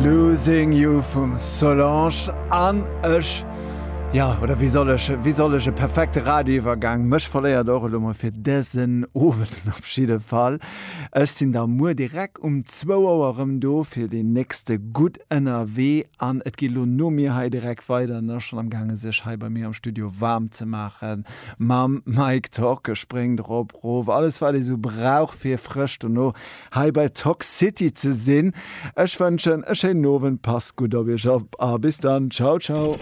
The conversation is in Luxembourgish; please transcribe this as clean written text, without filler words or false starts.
Losing You vum Solange an ech, jo, oder wéi soll ech, wéi soll ech e perfekte Radioiwwergang, mech verléiert och elo mol fir dësen Owend op jidde Fall. Ech sinn da muer direkt um zwou Auer erëm do fir deen nächste Gutt Ënnerwee an et geet elo no mir hei direkt weider an ass schonn am gaange sech hei bei mir am Studio waarm ze maache mam Mike Torke. Spréngt erop, rof, alles wat ee sou brauch fir frësch dono hei bei Talk City ze sinn. Ech wënschen e schéinen Owend, passt gutt op iech op a bis dann. Ciao ciao.